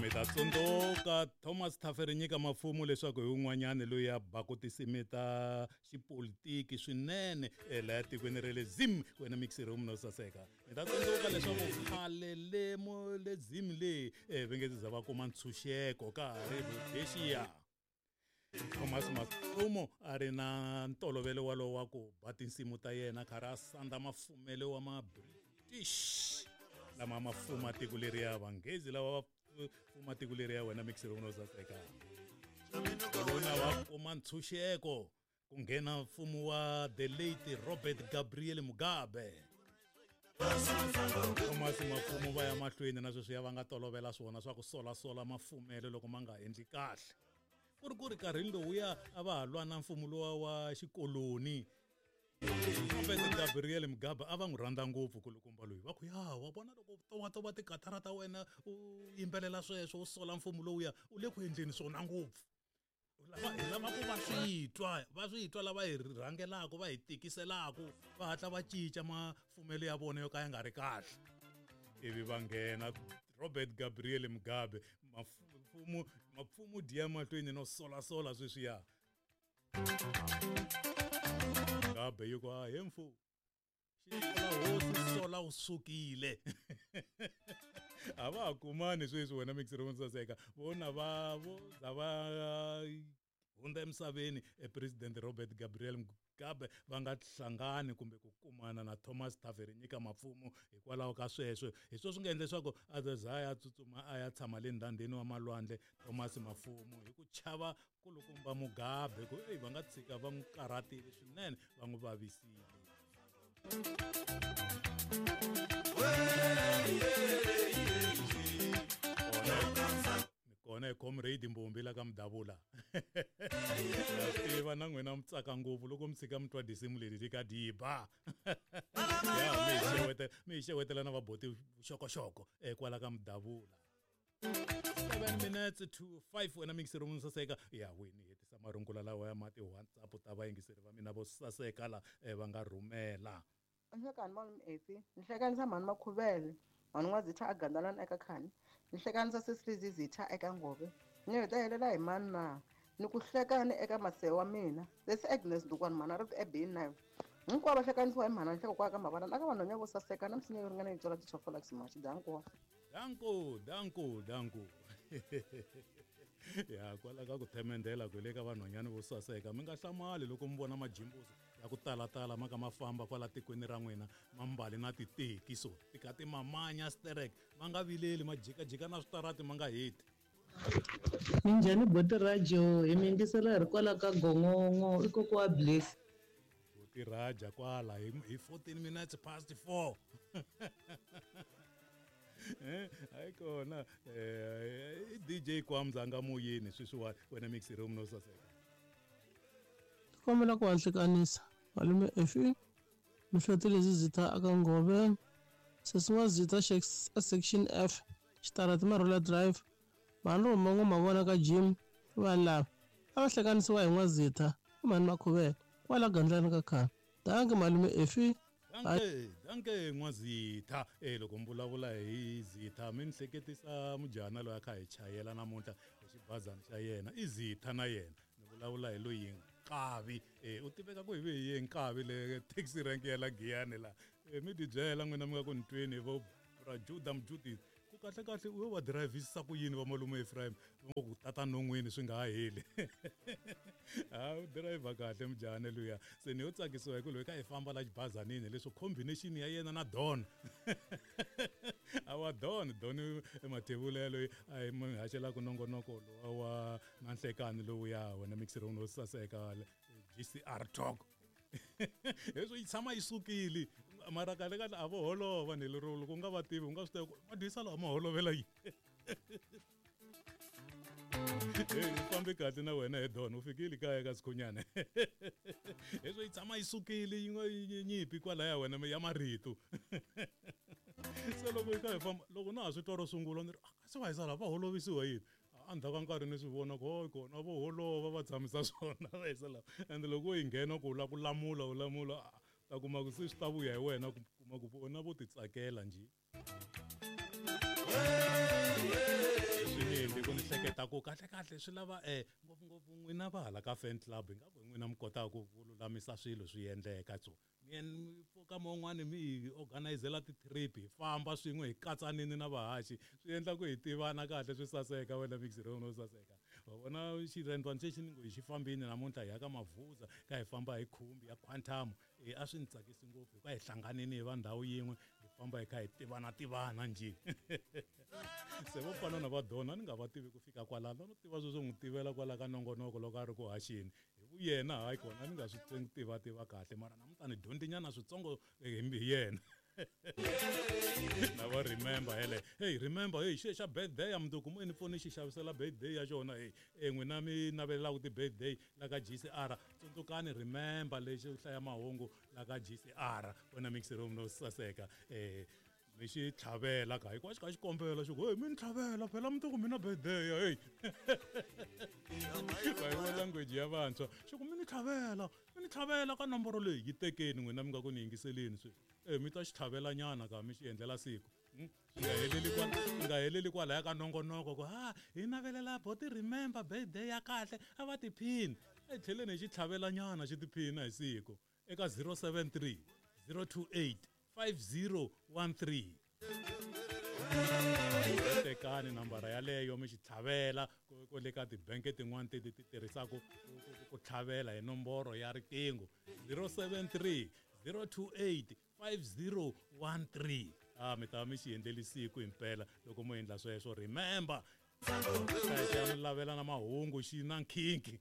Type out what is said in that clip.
Mi ta tsundzuka Thomas Taferinyika Mafumu leswaku hi un'wanyana loyi a baku tinsimu ta xipolitiki swinene laha tikweni ra le Zim wena mixer no saseka. Mi ta tsundzuka leswaku khale le mo le Zim le va nge za va kuma ntshunxeko ka ha ri Rhodesia. Thomas Mafumu a ri na ntolovelo walowo wa ku ba tinsimu ta yena karhi a sandza mafumelo wa ma-British lama ma fuma tiko leriya vanghezi lava va fuma tiko leriya wena mixer no saseka. Lona va kuma ntshunxeko ku nghena mfumo wa the late Robert Gabriel Mugabe. Thomas Mafumu va ya mahlweni na sweswiya va nga tolovela swona swa ku solasola mafumelo loko ma nga endli kahle. Ku ri ku ri nkarhini lowuya a va ha lwa na mfumo luwa wa xikoloni. Robert Gabriel Mugabe a va n'wi rhandza ngopfu kulukumba loyi va ku ya wa vona loko tovatova tikatara ta wena u yimbelela sweswo u sola mfumo lowuya u le ku endleni swona ngopfu. Hi lava ku va swi twa va swi twa lava hi rhangelaka va hi tikiselaka va hatla va cinca mafumelo ya vona yo ka ya nga ri kahle. Ivi va nghena Robert Gabriel Mugabe mfumo mapfumo dya mahlweni no solasola sweswiya. Mugabe yi ku a he mfumo xi hosi sola wu sukile. A va ha kumani sweswi wena mixer wo saseka vona va vo za va hundza emisaveni president Robert Gabriel Mugabe va nga hlangani kumbe ku kumana na Thomas Taferinyika Mafumu hikwalaho ka sweswo. Hi swona swi nga endla leswaku a za ya tsutsuma a ya tshama le ndhandeni wa malwandle Thomas Mafumu hi ku chava kulukumba Mugabe ku eyi va nga tshika va n'wi karhatile swinene va n'wi vavisile. Kona hi comrade Mbombi la ka Mudavula. Na tiva na n'wina mi tsaka ngopfu loko mi tshika mi twa tinsimu leti ti ka diba. Ya mi hi xewetela na vaboti vuxokoxoko kwala ka Mudavula. 7 minutes to 5 wena mixer wo saseka ya wini hetisa marungula lawa ya mati WhatsApp ta vayingiseri va mina vo saseka la va nga rhumela. Nhlekani malume Efi, nihlekanisa mhani Makhuvele, mhani N'wazitha a Gandalani eka Khani, nihlekanisa Sesi Zitha eka Ngove, ni heta helela hi mani na ni ku hlekani eka masewa wa mina, Sesi Agnes Ndukwani mhani a ri eB9. Hinkwavo va hlekanisiwa hi mhani nhleko kwa ka mavalani aka vanhwanya vo saseka na misinya yo ringana yi tswala tichofolax machi danko. Danko, danko, danko. Ya kwala ka ku themendela ku le ka vanhwanyana vo saseka mi nga hlamali loko mi vona majimbusi ya ku talatala ma ka ma famba kwala tikweni ra n'wina ma mbali na titeki so ti ka ti mamanya sterek ma nga vileli ma jikajika na switarati ma nga heti. Minjhani boti Rajo hi mi yingisela hi ri kwala ka Gongongo i kokwa wa Bliss. Boti Raja kwala hi 14 minutes past 4. Hayi kona DJ Kwamza nga muyini sweswiwani wena mixer room no saseka. Kombela ku hlanganisa malume Efi Mihloti Zitha aka Ngove Sesi N'wazitha section F Xitarati Marula Drive mhani Rhuma Ngoma vona ka Jim vanhu lava a va hlanganisiwa hi N'wazitha i mhani Makhuvele kwala Gandlani ka khale. Danke malume Efi. Danke, danke N'wazitha. Loko mi vulavula hi Zitha mi ni hleketisa mujana loyi a kha hi chayela namuntlha hi xibazana xa yena. I Zitha na yena. Ni vulavula hi loyi Nkavi. U tiveka ku hi ve hi ye Nkavi le taxi rank ya la Giyani la. Mi ti byela n'wina mi nga ku ni tweni vo Bra Juda Mjudisi. Ku kahle kahle u yo va dirayivhisisa ku yini va malume Ephraim va ngo ku tata non'wini swi nga ha heli. Ha u dirayivha kahle mujahane luya. Se ni yo tsakisiwa hi ku loyi ka hi famba la xibazanini leswo combination ya yena na Don. Awa Don, Don Mathebula yaloyi a hi mi haxelaka nongonoko lowa wa na nhlekani lowuya wena mixer no saseka GCR Talk. Leswo yi tshama yi sukile mara kahle kahle a vo holova ni lero loko u nga va tivi u nga swi tiva ku va dyisa lawa ma holovela yini. Hey, u fambe kahle na wena he Don u fikile kaya ka Sikhunyana. Leswo yi tshama yi sukile yi nga nyimpi kwalaya wena ya marito. Se loko yi kha hi famba loko na ha swi twa ro sungula ni ri kasi va hisa lava va holovisiwa yini. Endzhaku ka nkarhi ni swi vona ku hayi kona vo holova va tshamisa swona va hisa lava. Ende loko yi nghena ku u lava ku lamula u lamula ta kuma ku se swi ta vuya hi wena ku kuma ku vona vo titsakela njhe. ku kahlekahle swi lava ngopfungopfu n'wina va hala ka fan club ingaku hi n'wina mi kotaka ku lulamisa swilo swi endleka so mi pfuka man'wani mi hi organizela ti-trip hi famba swin'we hi katsanini na vahaxi swi endla ku hi tivana kahle swi saseka wena mixirona wo saseka wa vona xirhendwani xexi ni ngo hi xi fambini namuntlha hi ya ka mavuza ka hi famba hi khumbi ya quantum e a swi ni tsakisi ngopfu hikuva hi hlanganini hi va ndhawu yin'we hi famba hi kha hi tivana tivana njhe se vo fana na va dona ni nga va tivi ku fika kwalano no tiva sweswo n'wi tivela kwala ka nongonoko loko a ri ku haxeni hi vuyena hayi kona ni nga swi tiva tiva kahle mara namuntlha ni dyondzinyana switsongo hi yena na va remember hele hey remember hey xe xa birthday ya mundzuku mo ni pfuni xi xavisela birthday ya xona hey e n'wina mi navelelaka ti-birthday la ka GCR tsundzukani remember lexi hlaya mahungu la ka GCR wena mixer room no saseka mi xi tlhavela ka hikuva xi kha xi kombela xi ku hey mi ni tlhavela phela mundzuku mi na birthday hey va yi language ya vantshwa xi ku mi ni tlhavela mi ni tlhavela ka nomboro leyi yi tekeni n'wina mi nga ku ni yingiseleni sweswi e mi ta xi tlhavela nyana ka mi xi endlela siku swi nga heleli kwala swi nga heleli kwalaya ka nongonoko ku ha hi navelela boti remember birthday ya kahle a va tiphini e tlheleni hi xi tlhavela nyana xi tiphina hi siku eka 073 028 5013 tekani nambara yaleyo mi xi tlhavela ku le ka tibenke tin'wana ti ti tirhisaka ku tlhavela hi nomboro ya riqingho 073 028 5013 a mi ta mi xi endleli siku himpela loko mo endla sweswo remember xa mi lavela na mahungu xi na nkhinkhi.